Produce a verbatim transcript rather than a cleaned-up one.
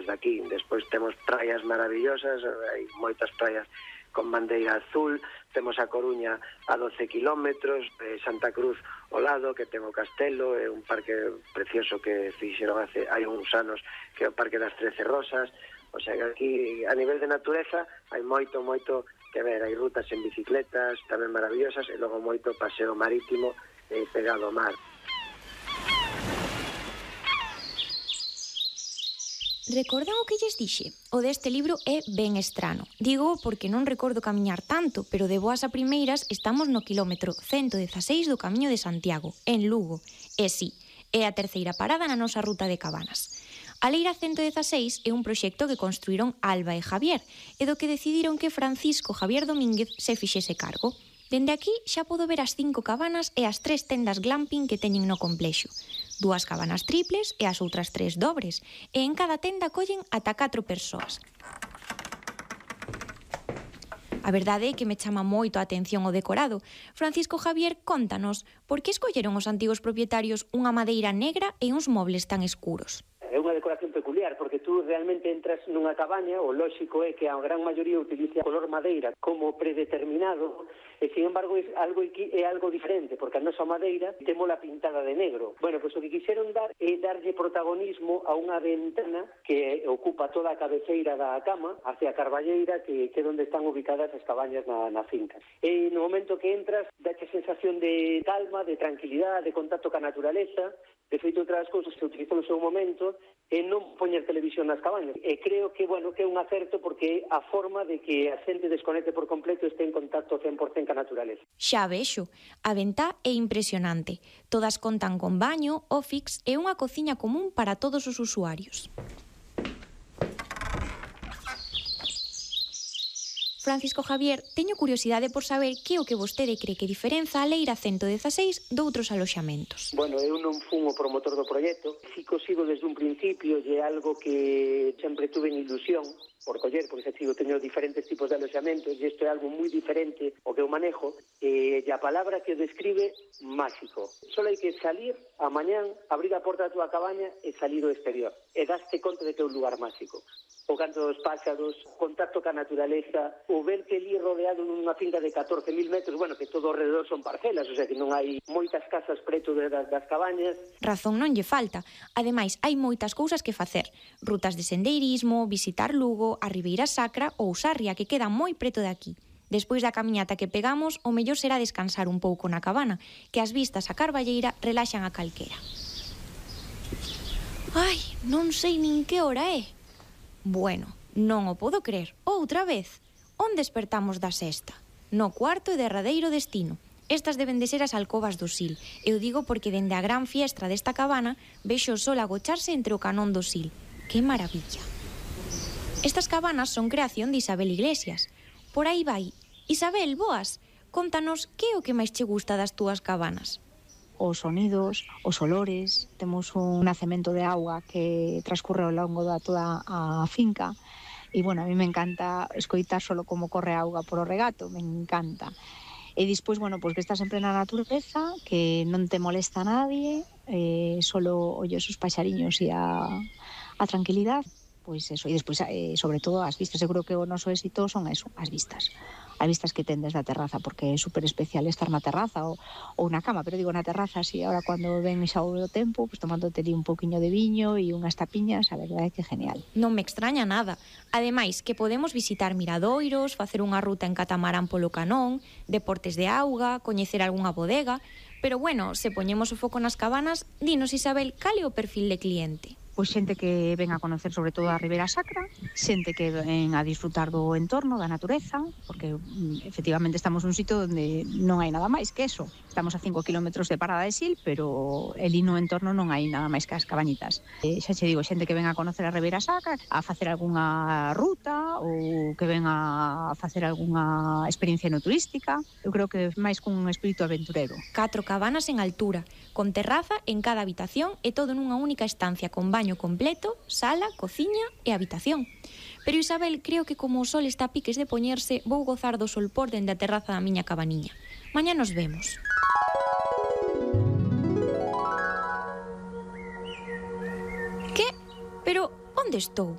de aquí. Despois temos praias maravillosas, hai moitas praias con bandeira azul, temos a Coruña a doce kilómetros, eh, Santa Cruz ao lado, que ten o castelo, é un parque precioso que fixeron hace, hai uns anos, que é o Parque das Trece Rosas. O sea, que aquí, a nivel de natureza, hai moito, moito que ver, hai rutas en bicicletas, tamén maravillosas, e logo moito paseo marítimo eh, pegado ao mar. Recordan o que lles dixe? O deste libro é ben estrano. Digo porque non recordo camiñar tanto, pero de boas a primeiras estamos no quilómetro cento dezaseis do Camiño de Santiago, en Lugo. E si, é a terceira parada na nosa ruta de Cabanas. A Leira cento dezaseis é un proxecto que construíron Alba e Javier, e do que decidiron que Francisco Javier Domínguez se fixese cargo. Dende aquí xa podo ver as cinco cabanas e as tres tendas glamping que teñen no complexo. Dúas cabanas triples e as outras tres dobres, e en cada tenda collen ata catro persoas. A verdade é que me chama moito a atención o decorado. Francisco Javier, contanos, por que escolleron os antigos propietarios unha madeira negra e uns mobles tan escuros? É unha decoración peculiar, porque tú realmente entras nunha cabaña, o lóxico é que a gran maioría utiliza color madeira como predeterminado, e, sin embargo, é algo, é algo diferente, porque a nosa madeira témola pintada de negro. Bueno, pois o que quixeron dar é darlle protagonismo a unha ventana que ocupa toda a cabeceira da cama, hacia a carballeira, que, que é onde están ubicadas as cabañas na, na finca. E no momento que entras, dache sensación de calma, de tranquilidade, de contacto ca naturaleza. De feito, outras cousas que se utilizou no seu momento é non poñer televisión nas cabañas. E creo que, bueno, que é un acerto porque é a forma de que a xente desconecte por completo e este en contacto cen por cento ca naturaleza. Xa vexo, a ventá é impresionante. Todas contan con baño, office e unha cociña común para todos os usuarios. Francisco Javier, teño curiosidade por saber que é o que vostede cree que diferenza a Leira cento dezaseis doutros aloxamentos. Bueno, eu non fun o promotor do proxecto, si que o sigo desde un principio e é algo que sempre tuve en ilusión por coller, porque xa sigo teño diferentes tipos de aloxamentos e isto é algo moi diferente o que eu manejo, e a palabra que o describe, máxico. Só hai que salir a mañán, abrir a porta da túa cabaña e salir ao exterior, e daste conta de que é un lugar máxico. O canto dos páxaros, contacto ca naturaleza, o verte ali rodeado nunha finca de catorce mil metros, bueno, que todo ao redor son parcelas, o sea que non hai moitas casas preto de, das, das cabañas. Razón non lle falta. Ademais, hai moitas cousas que facer. Rutas de sendeirismo, visitar Lugo, a Ribeira Sacra ou Sarria, que queda moi preto de aquí. Despois da camiñata que pegamos, o mellor será descansar un pouco na cabana, que as vistas a Carballeira relaxan a calquera. Ai, non sei nin que hora é. Bueno, non o podo crer. Outra vez. Onde despertamos da sexta? No cuarto e derradeiro destino. Estas deben de ser as alcobas do Sil. Eu digo porque dende a gran fiestra desta cabana vexo o sol agocharse entre o canón do Sil. Que maravilla. Estas cabanas son creación de Isabel Iglesias. Por aí vai. Isabel, boas. Contanos que é o que máis che gusta das túas cabanas. Os sonidos, os olores, temos un nacemento de auga que transcurre ao longo da toda a finca e, bueno, a mí me encanta escoitar solo como corre a auga por o regato, me encanta. E despois, bueno, pois que estás sempre na natureza, que non te molesta a nadie, eh, solo ollos os paxariños e a, a tranquilidade, pois eso, e despois, eh, sobre todo, as vistas. Eu creo que o noso éxito son eso, as vistas. As vistas que ten desde a terraza, porque é super especial estar na terraza ou, ou na cama, pero digo na terraza, así, ahora cando ven xa o tempo, pues tomándote ali un pouquiño de viño e unhas tapiñas, a verdade é que é genial. Non me extraña nada. Ademais, que podemos visitar miradoiros, facer unha ruta en catamarán polo canón, deportes de auga, coñecer algunha bodega, pero bueno, se poñemos o foco nas cabanas, dinos, Isabel, cal é o perfil de cliente? Pois xente que ven a conocer sobre todo a Ribeira Sacra, xente que ven a disfrutar do entorno, da natureza, porque efectivamente estamos nun sitio onde non hai nada máis que eso. Estamos a cinco kilómetros de Parada de Sil, pero ali no entorno non hai nada máis que as cabañitas. E xa che digo, xente que ven a conocer a Ribeira Sacra, a facer algunha ruta ou que ven a facer algunha experiencia no turística. Eu creo que máis cun espírito aventurero. Catro cabanas en altura, con terraza en cada habitación e todo nunha única estancia con baño completo, sala, cociña e habitación. Pero Isabel, creo que como o sol está a piques de poñerse, vou gozar do solpor dende a terraza da miña cabaniña. Mañá nos vemos. Que? Pero onde estou?